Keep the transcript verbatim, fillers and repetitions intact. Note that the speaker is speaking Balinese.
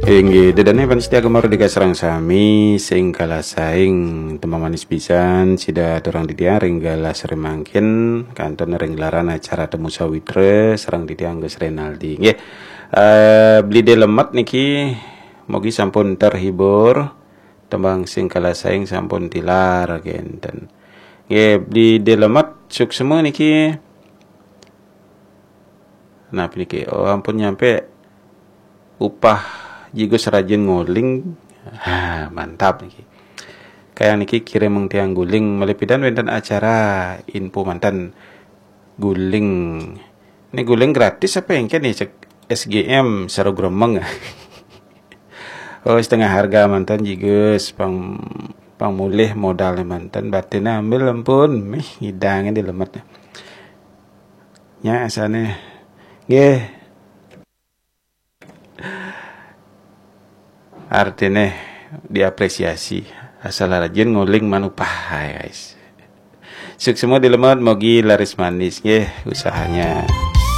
Inggih, ida dané pamiarsa Gema Merdeka sareng sami sing kalasaing, tembang manis pisan sida aturang titiang ring galah sore mangkin, kantun ring gelaran acara Temu Sawitra sareng titiang Gus Renaldi. Nggih. Eh, Bli Dé Lemet niki mugi sampun terhibur. Tembang sing kalasaing sampun tilar kénten. Nggih, Bli Dé Lemet suksma niki. Nah, niki, oh, ampun nyampe upah jigus rajin nguling. Ha, mantap niki. Kayang niki kirim tiang guling, malih pidan wénten acara info manten guling. Ini guling gratis apa éngkén nih, cek S G M Saro Gremeng. Oh, setengah harga manten jigus, pang pang mulih modalnya manten, batinnya ambil ampun, mih ngidangnya di lemetnya. Nya asané. Nggih. Artinya diapresiasi. Asal rajin nguling manupah, guys. Suksma Bli Dé Lemet, mugi laris manis nggih usahanya.